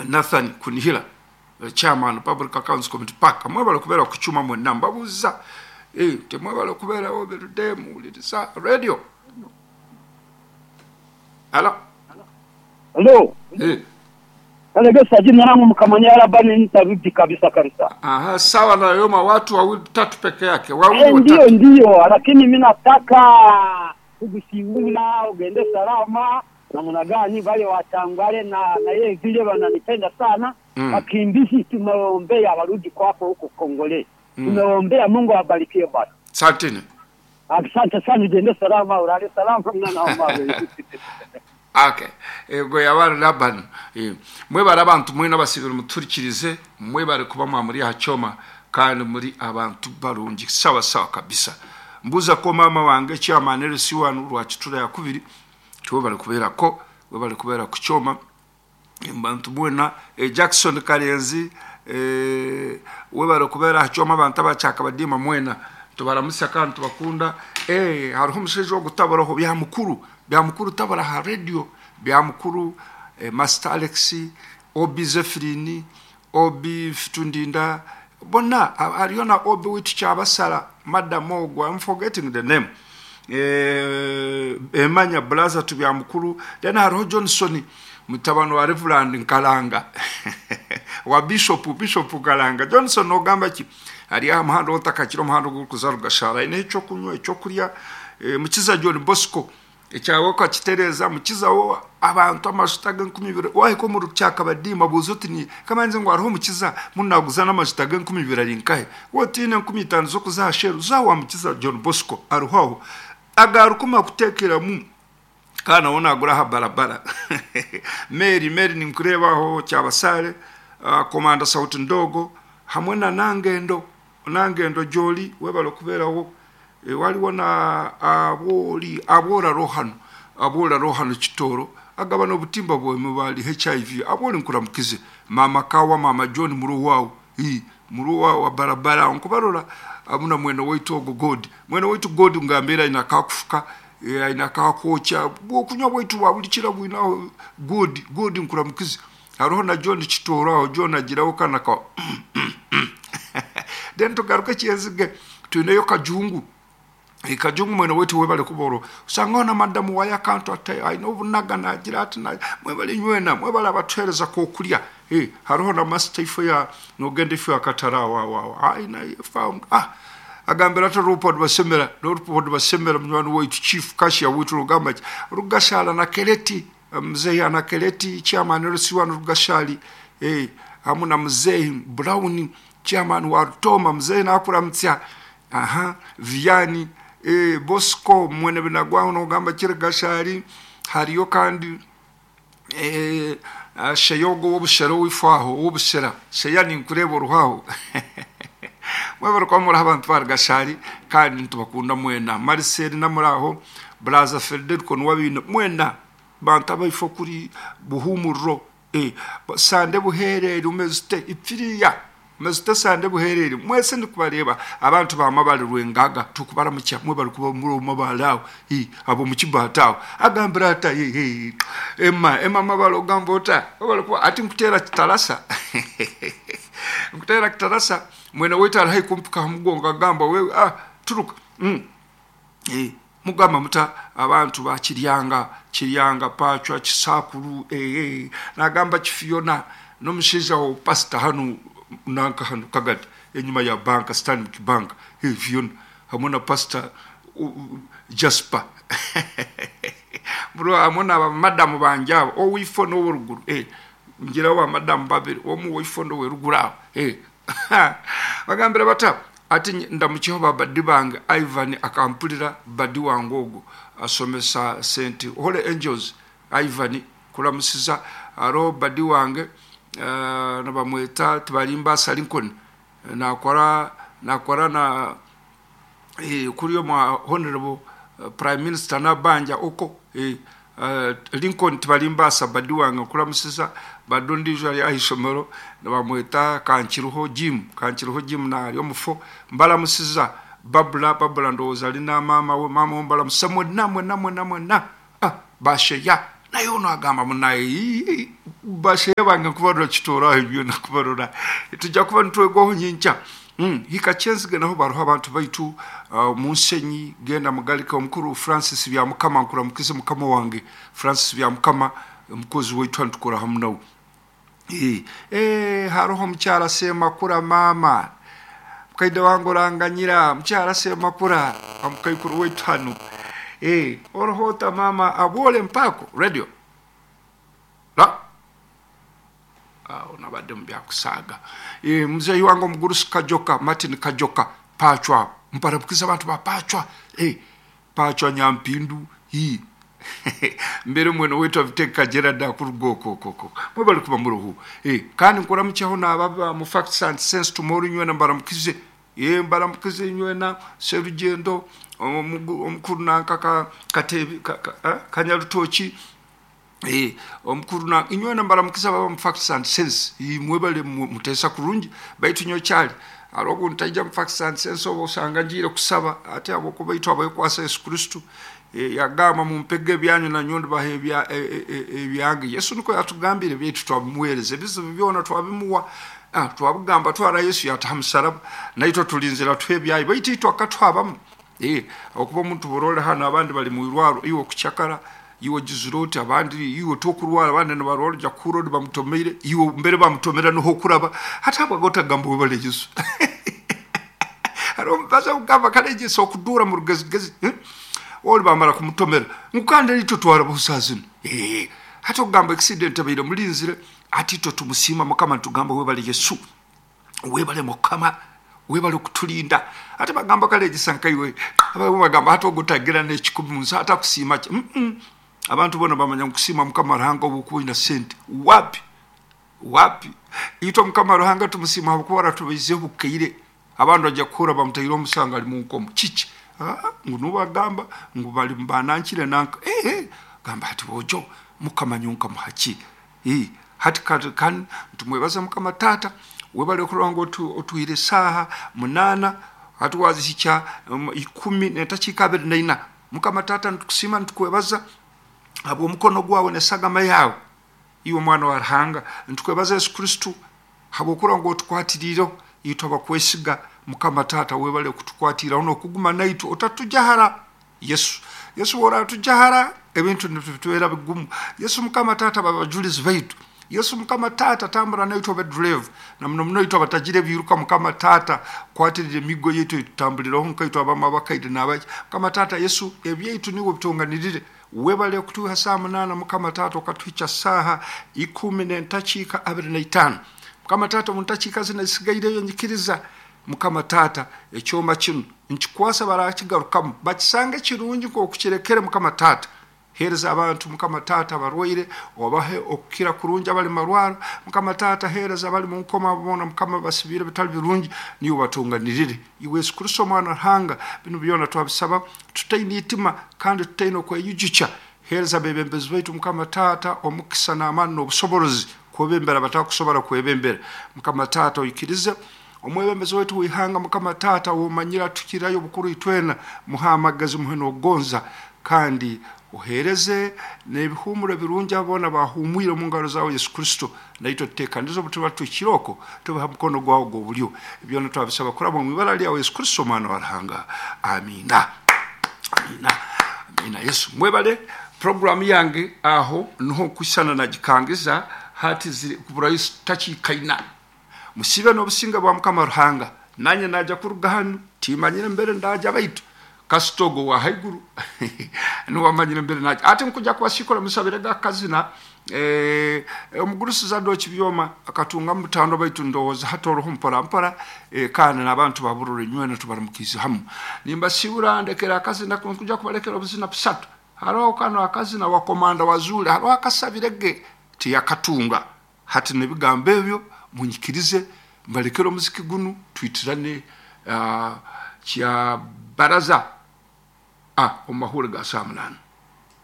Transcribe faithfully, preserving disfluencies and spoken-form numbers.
Nathan Kunihira, chairman Public Accounts Committee, paka mwebale kubeera ku kyuma mwenna mbabuuza. Eh, temwebale kubeerawo birudde muwuliriza radio. Halo. Halo. Eh. Kalegesa, jina langu Mkamanya Labani, nitarudi kabisa kabisa. Aha, sawa na yoma watu wawili tatu peke yake. Wawili Eh, ndiyo watatu. Ndiyo, lakini mimi nataka kugusiula ugende salama namna gani wale watangwale na na yeye vile wananipenda sana. Mm. Wakimbizi tumeombea warudi kwako huko Kongole. Mm. Tumeombea, Mungu awabarikie bwana. Asanteni. Asante sana, ugende salama, ulale salama mwana wa mama. Okay. Ego yabari Laban. Eh, mwebale abantu mwena basibira muturikirize, mwebale kuba mwamuri hachoma kandi muri abantu barungi sawa sawa kabisa. Mbuza ko mama wange chairman L C one rwa Kitura ya kubiri twebale kubera ko webale kubera ku kyoma abantu mwena. eh, Jackson Karenzi, eh, webale kubera hachoma abantu abachaka badima mwena tubaramusa kandi tubakunda. eh hariho umusheje wo gutabaraho bya mukuru bya mukuru tabara ha radio bya mukuru, eh, Master Alex Obi, Zefrini Obi Fitundinda bona hariyo na Obi witu kyabasala Madam Ogwa, I'm forgetting the name, eh, emanya blaza tu bya mukuru. Then hariho Johnson mutabano wa Reverend Nkalanga wa Bishop Bishop Nkalanga Johnson. Ogamba ki hari amuhanda otakakira omuhanda ogukuza rugashara ine ekyo kunywa ekyo kurya. eh, mukiza John Bosco ekyawe okakitereza mukiza wo abantu amashuta g'enkumi ibiri wahika omu rukyaka badima buuza oti ni kamanzi ngu hariho omukiza munaguza n'amashuta g'enkumi ibiri ari nkahe wotiine enkumi itaano z'okuza aha sheru zawa mukiza John Bosco ariho aho agarukuma kuteekeramu kana wona agura aha barabara. Mary Mary ninkurebaho kyabasale, uh, komanda Sauti Ndogo hamwe na Nangendo Nangendo Joli webale okubeerawo. e, waliwo na aboli abola rohano abola rohano Kitoro agabana obutimba bwemwe bali H I V aboli nkuramukize mama Kawa mama John muruwawo i muruwa wa barabara nkubarora amuna mwene waitu ogo God mwene waitu God ngambira ina kakufuka aina kakwocha bwokunywa bwaitu bwa buli kira bwinaho God God nkuramukize. Hariho na John Kitoro aho John agiraho kana ka then tugaruke kyenzige tuineyo Kajungu. E, Kajungu mwene wetu webale kuboro usanga na madamu waya kantu ate aina obunaga nagira ati na mwebale nywena mwebale abatuhereza kokulya. Eh, hariho na master ifo ya nogenda ifo ya katara wa wa wa aina found ah agambira ati Rupert Basemera Rupert Basemera munywani waitu chief cashier witu rugamba ki Rugashala na Keleti mzehi ana Keleti chairman L C one Rugashali, eh hamwe na mzehi Brown chairman wa Rutoma mzehi nakuramutsa aha Viani, eh, Bosco mwene binagwaho nogamba kiri Gashari hariyo kandi eh, ah, Sheyogo w'obushera w'ifaho w'obushera sheya ninkureba oruhaho mwebare kuba muri abantu ba Gashari kandi ntubakunda mwena. Marcel namuraho Braza Federico nuwabina mwena bantu abaifo kuri buhumuro, eh, sande buherere umeze ipfiriya umeze sande buherere mwese ndikubareba abantu bamabale rwengaga tukubaramukya mwebale kuba muri mabale awo eh, abo mukibata awo agambira ata eh, eh, ema ema mabale ogamba ota webale kuba ati nkutera kitarasa nkutera kitarasa mwene waitu ari haihi kumpika ha mugongo agamba we ah, turuka mm. Eh, mugamba muta abantu ba Kiryanga Kiryanga Pachwa Kisakuru, eh, eh, nagamba Kifiona n'omushaija wa pastor hanu nanka hanu Kagadi enyuma ya banka Stanbic Bank, eh, Fiona hamwe na pastor uh, uh, Jasper bro hamwe na bamadamu banje abo owifo n'oworuguru, eh, ngiraho bamadamu babiri omu wifo n'oweruguru aho, eh. Bagambira bata ati ndamukiho babadi bange Ivan akampulira badi wange ogwo asomesa Saint Holy Angels Ivan kulamusiza aro badi wange uh, nabamweta Tibalimbasa Lincoln nakora nakora na eh, kuri yo mwa honorable uh, prime minister nabanja oko, eh, uh, Lincoln Tibalimbasa badi wange kulamusiza badondijo ari ahisomero nabamweta Kankiruho Jim Kankiruho Jim na ari omufo mbalamusiza Babula Babula ndowooza alina maama we maama we mbalamusa mwena mwena mwena mwena ah, basheya. Naye ono agamba munaye bashehe bange nkubarora kitoraho byona kubarora tujja kuba nitwegwaho nyinkya. Mm, hika kyenzige naho baruho abantu baitu uh, munsenyi genda mugalika omukuru Francis bya mukama nkuramukize mukama wange Francis bya mukama omukozi waitu ntukora hamu nawe. Eh, eh haroho mukyala Semakura mama mukaide wange oranganyira mukyala Semakura omukaikuru waitu hano. Eh, orohota mama abole mpako radio la nabadde mu byakusaaga. E, muzeeyi wange omugurusi Kajoka Martin Kajoka Pachwa mparabukiza abantu ba Pachwa. E, Pachwa Nyampindu hi mbere mwene wetu aviteka Gerard akurugokokoko mwebali kuba muruhu. E, kandi nkuramukyaho n'ababa mu Facts and Sense tomorrow nywena mbaramukize. E, mbaramukize nywena Serugendo omukuru nankaka Katebi ka, ka, Kanyarutoki. Eh, omukuru na inywena mbaramukiza baba mu Facts and Sense mwebale mutesa kurungi baitu nyo kyali arogo ntaija mu Facts and Sense obo osanga njire kusaba ate abo kubaitu abakwasa Yesu Kristo. E, yagamba mumpege byanyu na nyondo bahe ebya ebyange. Yesu niko yatugambire byetu twabimuwereze ebizibu byona twabimuwa. Ah, twabugamba twara Yesu yataha musaraba naitwe tulinzira twebyayi baitu itwe akatwabamu. Eh, okuba omuntu borole hano abandi bali mu irwaro iwe kuchakara iwe jiziroti abandi iwe tokurwara abandi nibarwara ja kurodi bamutomeire iwe mbere bamutomera niho kuraba hatabwa gotagamba webale Yesu. Arombaza kugamba kale Yesu okudura mu rugezigezi eh? Oli bamara kumutomera nkande lityo twara busazino. Eh, hata kugamba accident abaire mulinzire ati to tumusima mukama tugamba webale Yesu webale mukama webale kutulinda. Ate bagamba kale gisanka iwe abamu bagamba hata ogotagira n'ekikumi munsi hata kusiima ki. Mm -mm. Abantu bona bamanya nkusima mukama Ruhanga obukuina sente wapi wapi itwa mukama Ruhanga tumusima habwokuba aratubizeho bukeire abantu bajja kukura bamutaire omusanga ali mu nkomo kiki. Ah, ngu nubagamba ngu bali mbanankire nanka eh eh gamba ati bojo mukama nyonka muhaki. Eh, hati kan tumwebaza mukama tata webale kulongo otuire saha munana hatuwazihicha um, ikumi netakiika abiri na ina. Mukama tata ntukusima ntukwebaza habwo omukono gwawe nesagama yawe iwe mwana wa Ruhanga ntukwebaza Yesu Kristo habwo kulongo otukwatiriro itwe abakwesiga. Mukama tata webale kutukwatira ono okuguma naitu otatujahara Yesu. Yesu wora tujahara ebintu nitubera bigumu. Yesu mukama tata babajulizi baitu. Yesu mukama tata tambura naitwe abadrive na muno muno itwe abatajire biruka mukama tata kwatirire emigo yetu tutambuliraho nkaitwe abama abakaide n'abaki. Mukama tata Yesu ebyaitu niwe bitonganirire webale kutuha saa munana mukama tata okatuhicha saha ikumi n'entakiika abiri na itaano. Mukama tata mu ntakiika zino ezisigaire nyikiriza mukama tata ekyoma kino nkikwasa barakigarukamu bakisange kirungi nk'okukirekere mukama tata. Hereza abantu mukama tata abarwaire obahe okukira kurungi abali marwaro mukama tata. Hereza abali mu nkoma bona mukama basibire bitali birungi niyo batunganirire iwe Yesu Kristo mwana Ruhanga. Bino byona twabisaba tutaine itima kandi tutaine okweyujucha. Hereza bebembezi baitu mukama tata omukisa n'amaani n'obusoborozi kwebembera batakusobora kwebembera mukama tata. Oikirize omwebembezi waitu wihanga mukama tata womanyira tukirayo bukuru itwena muhamagazi muhe n'okugonza kandi ohereze n'ebihumuro birungi abona bahumwire mu ngaro zawe Yesu Kristo naitwe tuteekanize obutuba tukiroko tubaha mukono gwawe gw'obulyo. Byona twabisaba kuraba mu ibara lyawe Yesu Kristo omwana wa Ruhanga. Amina. Amina. Amina. Yesu mwebale programu yange aho niho kusana nagikangiza hati ziri kubura takiikaina musibe n'obusinga bwa mukama Ruhanga. Nanye naja kuruga hano timanyire mbere ndaja baitu kasitogo wa haiguru niwamanyire mbere naja ate nkuja kubasikora musabire gakazina eh omugurusi Zadoki byoma akatunga mutando baitu ndowooza hatoroho mpora mpora eh, kandi n'abantu baburure nywena tubaramukiza hamu nimba sibura ndekera akazina nkuja kubalekera obuzina busatu. Hariho kano akazina wa komanda wazule hariho akasabirege tiyakatunga hati nebigambo ebyo munyikirize mbalekere omuziki gunu twitirane uh, kya baraza ah omumahure ga saa munana.